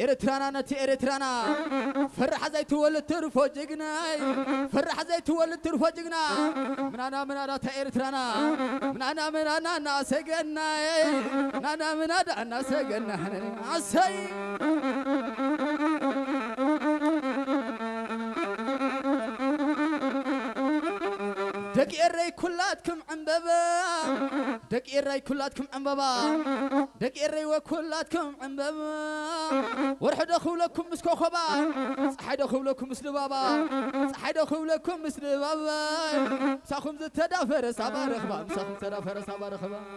ኤርትራና ነቲ ኤርትራና ፈራሕ ዘይትወልድ ትርፎ ጅግናይ፣ ፈራሕ ዘይትወልድ ትርፎ ጅግና። ምናና ምናና እታ ኤርትራና፣ ምናና ምናና እናሰገናይ፣ ምናና ምናዳ እናሰገና። ኣሰይ። ደቂ ኤረይ ኩላትኩም ዕምበባ፣ ደቂ ኤረይ ኩላትኩም ዕምበባ፣ ደቂ ኤረይ ወኩላትኩም ዕምበባ። ወርሒ ዶ ክብለኩም ምስ ኮኸባ፣ ፀሓይ ዶ ክብለኩም ምስ ልባባ፣ ፀሓይ ዶ ክብለኩም ምስ ልባባ። ምሳኹም ዝተዳፈረ ሳባ ረኽባ፣ ምሳኹም ዝተዳፈረ ሳባ ረኽባ።